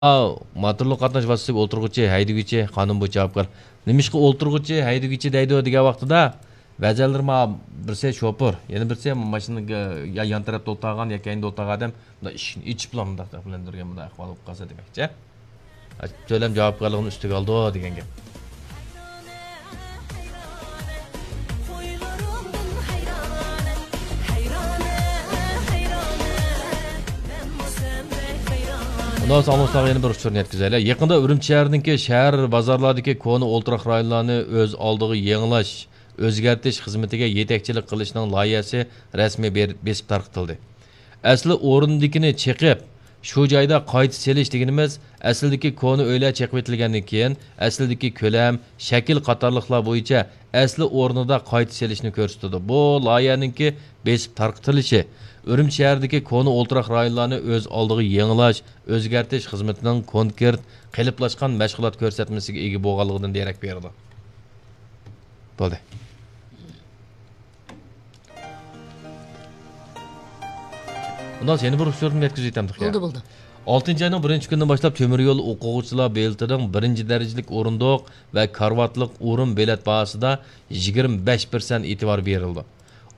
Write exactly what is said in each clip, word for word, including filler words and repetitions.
ئاۋۇ موتورلۇق قاتناش ۋاسىتىسىگە ئولتۇرغۇچى، ھەيدىگۈچى، قانۇن بويىچە جاۋابكار. نېمىشقا ئولتۇرغۇچى، ھەيدىگۈچى دەيدۇ دېگەن ۋاقتىدا، بەزەنلىرى ما، بىرسى شوپۇر، يەنە بىرسى ماشىنىغا يا يان تەرەپتە ئولتۇرغان، يا كەينىدە ئولتۇرغان ئادەم مۇنداق ئىشىكنى ئېچىپلا مۇنداق قىلىندۇرغان، مۇنداق ئەھۋال بولۇپ قالسا دېمەكچى. تۆلەم جاۋابكارلىقىنى ئۈستىگە ئالىدۇ دېگەن گەپ. ئۇنداق بولسا ئاڭلىغۇچىلارغا يەنە بىر ئۇچۇرنى يەتكۈزەيلى. يېقىندا ئۈرۈمچى شەھىرىدىكى شەھەر بازارلاردىكى كونا ئولتۇراق رايونلارنى ئۆز ئالدىغا يېڭىلاش، ئۆزگەرتىش خىزمىتىگە يېتەكچىلىك قىلىشنىڭ لايىھەسى رەسمىي بېر-، بېسىپ تارقىتىلدى. ئەسلى ئورنىدىكىنى چېقىپ، شۇ جايدا قايتا سېلىش دېگىنىمىز، ئەسلىدىكى كونا ئۆيلەر چېقىۋېتىلگەندىن كېيىن، ئەسلىدىكى كۆلەم، شەكىل قاتارلىقلار بويىچە ئەسلى ئورنىدا قايتا سېلىشنى كۆرسىتىدۇ. بۇ لايىھەنىڭكى بېسىپ تارقىتىلىشى ئۈرۈمچى شەھىرىدىكى كونا ئولتۇراق رايونلارنى ئۆز ئالدىغا يېڭىلاش، ئۆزگەرتىش خىزمىتىنىڭ كونكرېت، قېلىپلاشقان مەشغۇلات كۆرسەتمىسىگە ئىگە بولغانلىقىدىن دېرەك بېرىدۇ. بولدى. ئۇنداق يەنە بىر ئۇچۇرنى يەتكۈزۈپ ئۆتەمدۇق يا. بولدى، بولدى. ئالتىنچى ئاينىڭ بىرىنچى كۈنىدىن باشلاپ تۆمۈر يول ئوقۇغۇچىلار بېلىتىنىڭ بىرىنچى دەرىجىلىك ئورۇندۇق ۋە كارىۋاتلىق ئورۇن بېلەت باھاسىدا يىگىرمە بەش پىرسەنت ئېتىبار بېرىلىدۇ.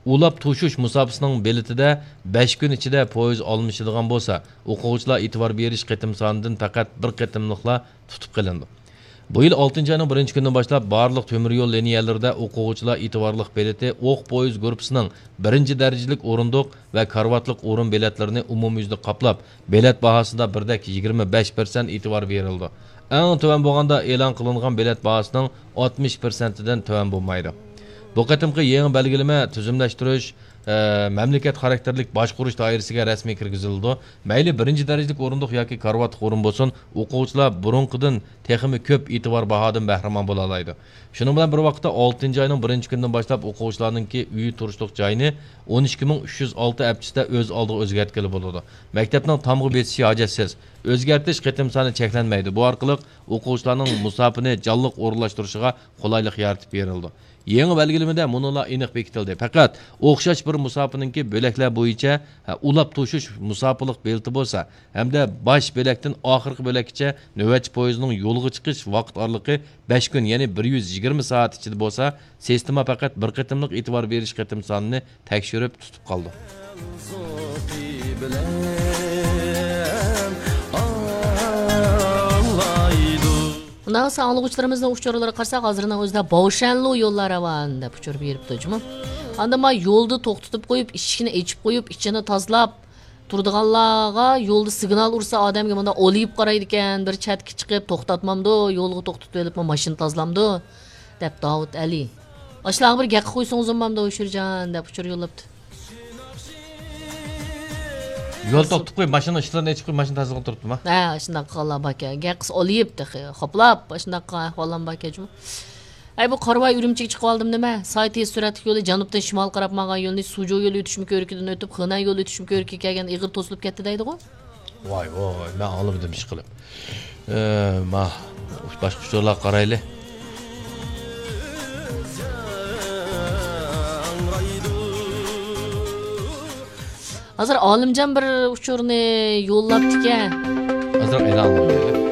ئۇلاپ توشۇش مۇساپىسىنىڭ بېلىتىدە بەش كۈن ئىچىدە پويىز ئالمىشىدىغان بولسا، ئوقۇغۇچىلار ئېتىبار بېرىش قېتىم سانىدىن پەقەت بىر قېتىملىقلا تۇتۇپ قېلىنىدۇ. بۇ يىل ئالتىنچى ئاينىڭ بىرىنچى كۈنىدىن باشلاپ بارلىق تۆمۈر يول لىنىيەلىرىدە ئوقۇغۇچىلار ئېتىبارلىق بېلىتى ئوق پويىز گۇرۇپپىسىنىڭ بىرىنچى دەرىجىلىك ئورۇندۇق ۋە كارىۋاتلىق ئورۇن بېلەتلىرىنى ئومۇميۈزلۈك قاپلاپ، بېلەت باھاسىدا بىردەك يىگىرمە بەش پىرسەنت ئېتىبار بېرىلىدۇ. ئەڭ تۆۋەن بولغاندا ئېلان قىلىنغان بېلەت باھاسىنىڭ ئاتمىش پىرسەنتىدىن تۆۋەن بولمايدۇ. بۇ قېتىمقى يېڭى بەلگىلىمە تۈزۈملەشتۈرۈش، ئە، مەملىكەت خاراكتېرلىك باشقۇرۇش دائىرىسىگە رەسمىي كىرگۈزۈلىدۇ. مەيلى بىرىنچى دەرىجىلىك ئورۇندۇق ياكى كارىۋاتلىق ئورۇن بولسۇن، ئوقۇغۇچىلار بۇرۇنقىدىن تېخىمۇ كۆپ ئېتىبار باھادىن بەھرىمەن بولالايدۇ. شۇنىڭ بىلەن بىر ۋاقىتتا، ئالتىنچى ئاينىڭ بىرىنچى كۈنىدىن باشلاپ ئوقۇغۇچىلارنىڭكى ئۆيى تۇرۇشلۇق جايىنى ئون ئىككى مىڭ ئۈچ يۈز ئالتە ئەپچىسىدە ئۆز ئالدىغا ئۆزگەرتكىلى بولىدۇ. مەكتەپنىڭ تامغا بېسىشى ھاجەتسىز. ئۆزگەرتىش قېتىم سانى چەكلەنمەيدۇ. بۇ ئارقىلىق ئوقۇغۇچىلارنىڭ مۇساپىنى جانلىق ئورۇنلاشتۇرۇشىغا قولايلىق يارىتىپ بېرىلىدۇ. يېڭى بەلگىلىمىدە مۇنۇلار ئېنىق بېكىتىلدى. پەقەت ئوخشاش بىر مۇساپىنىڭكى بۆلەكلەر بويىچە، ھە، ئۇلاپ توشۇش مۇساپىلىق بېلىتى بولسا ھەمدە باش بۆلەكتىن ئاخىرقى بۆلەككىچە نۆۋەتچى پويىزنىڭ يولغا چىقىش ۋاقىت ئارىلىقى بەش كۈن، يەنى بىر يۈز يىگىرمە سائەت ئىچىدە بولسا، سىستېما پەقەت بىر قېتىملىق ئېتىبار بېرىش قېتىم سانىنى تەكشۈرۈپ تۇتۇپ قالىدۇ. ئۇنداق بولسا ئاڭلىغۇچىلىرىمىزنىڭ ئۇچۇرلىرىغا قارىساق، ھازىرنىڭ ئۆزىدە باۋشەنلۇ يوللار راۋان دەپ ئۇچۇر بېرىپتۇ جۇمۇ. ئاندىن ما يولدا توختىتىپ قويۇپ، ئىشىكنى ئېچىپ قويۇپ، ئىچىنى تازىلاپ تۇرىدىغانلارغا يولدا سىگنال ئۇرسا ئادەمگە مۇنداق ئولىيىپ قارايدىكەن، بىر چەتكە چىقىپ توختاتمامدۇ، يولغا توختىتىۋېلىپمۇ ماشىنا تازىلامدۇ دەپ داۋۇت ئەلى. ئاشۇلارغا بىر گەپ قىلىپ قويسىڭىزمۇ بولامدۇ، شىرجان دەپ ئۇچۇر يوللاپتۇ. يول توختىتىپ قويۇپ، ماشىنا ئىشىكلىرىنى ئېچىپ قويۇپ، ماشىنا تازىلىغان تۇرۇپتۇما؟ ھە، شۇنداق قىلغانلار باركەن. گەپ قىلسا ئولىيىپ تېخى، خوپلاپ، شۇنداق قىلغان ئەھۋاللارمۇ باركەن جۇمۇ. ئەي، بۇ قارىۋاي ئۈرۈمچىگە چىقىۋالدىم نېمە؟ ساي تېز سۈرئەتلىك يولى جەنۇبتىن شىمالغا قاراپ ماڭغان يولنى سۇجۇ يولى ئۆتۈشمە كۆۋرۈكىدىن ئۆتۈپ، خېنەن يولى ئۆتۈشمە كۆۋرۈكىگە كەلگەندە ئېغىر توسۇلۇپ كەتتى دەيدىغۇ؟ ۋاي، ۋاي، مەن ئاڭلىمىدىم ئىشقىلىپ. ئە، ما، باشقا ئۇچۇرلارغا قارايلى. ھازىر ئالىمجان بىر ئۇچۇرنى يوللاپتىكەن. ئازراق ئېلان قىلىپ بېرەيلى.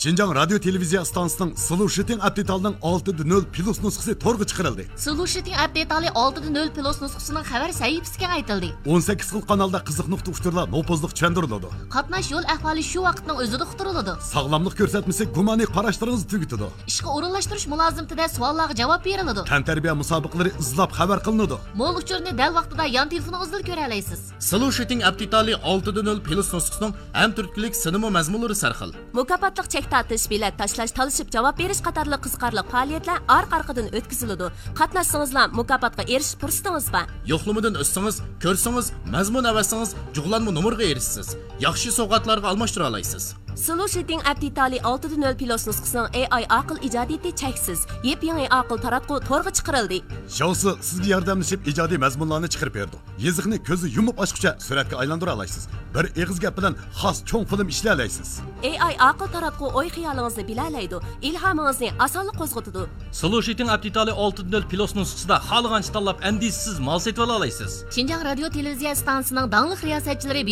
شىنجاڭ رادىيو تېلېۋىزىيە ئىستانسىسىنىڭ سلۇشىتىڭ ئەپ دېتالىنىڭ ئالتە دە نۆل پلۇس نۇسخىسى تورغا چىقىرىلدى. سلۇشىتىڭ ئەپ دېتالى ئالتە دە نۆل پلۇس نۇسخىسىنىڭ خەۋەر سەھىپىسى كېڭەيتىلدى. ئون سەككىز خىل قانالدا قىزىق نۇقتا ئۇچۇرلار نوپۇزلۇق چۈشەندۈرۈلىدۇ. قاتناش يول ئەھۋالى شۇ ۋاقىتنىڭ ئۆزىدە ئۇقتۇرۇلىدۇ. ساغلاملىق كۆرسەتمىسى گۇمانىي قاراشلىرىڭىزنى تۈگىتىدۇ. ئىشقا ئورۇنلاشتۇرۇش مۇلازىمىتىدە سوئاللارغا جاۋاب بېرىلىدۇ. تەنتەربىيە مۇسابىقىلىرى ئىزلاپ خەۋەر قىلىنىدۇ. مول ئۇچۇرنى دەل ۋاقتىدا يان تېلېفونىڭىزدىلا كۆرەلەيسىز. سلۇشىتىڭ ئەپ دېتالى ئالتە دە نۆل پلۇس نۇسخىسىنىڭ ھەم تۈرتكىلىك سىنىمۇ مەزمۇنلىرى سەرخىل. مۇكاپاتلىق چەك تارتىش، بېلەت تاشلاش، تالىشىپ جاۋاب بېرىش قاتارلىق قىزىقارلىق پائالىيەتلەر ئارقا-ئارقىدىن ئۆتكۈزۈلىدۇ. قاتناشسىڭىزلا مۇكاپاتقا ئېرىشىش پۇرسىتىڭىز بار. يوقلىمىدىن ئۆتسىڭىز، كۆرسىڭىز، مەزمۇن ئەۋەتسىڭىز، جۇغلانما نومۇرغا ئېرىشىسىز. ياخشى سوۋغاتلارغا ئالماشتۇرالايسىز. سلۇشىتىڭ ئەپ دېتالى ئالتىدە نۆل پلۇس نۇسخىسىنىڭ ئېي ئاي ئاقىل ئىجادىيىتى چەكسىز. يېپيېڭى ئاقىل تاراتقۇ تورغا چىقىرىلدى. ژاۋسى سىزگە ياردەملىشىپ ئىجادىي مەزمۇنلارنى چىقىرىپ بېرىدۇ. يېزىقنى كۆزى يۇمۇپ ئاچقۇچە سۈرەتكە ئايلاندۇرالايسىز. بىر ئېغىز گەپ بىلەن خاس چوڭ فىلىم ئىشلىيەلەيسىز. ئېي ئاي ئاقىل تاراتقۇ ئوي خىيالىڭىزنى بىلەلەيدۇ، ئىلھامىڭىزنى ئاسانلا قوزغىتىدۇ. سلۇشىتىڭ ئەپ دېتالى ئالتىدە نۆل پلۇس نۇسخىسىدا خالىغانچە تاللاپ ئەندىشىسىز مال سېتىۋالالايسىز. شىنجاڭ رادىيو تېلېۋىزىيە ئىستانسىسىنىڭ داڭلىق رىياسەتچىلىرى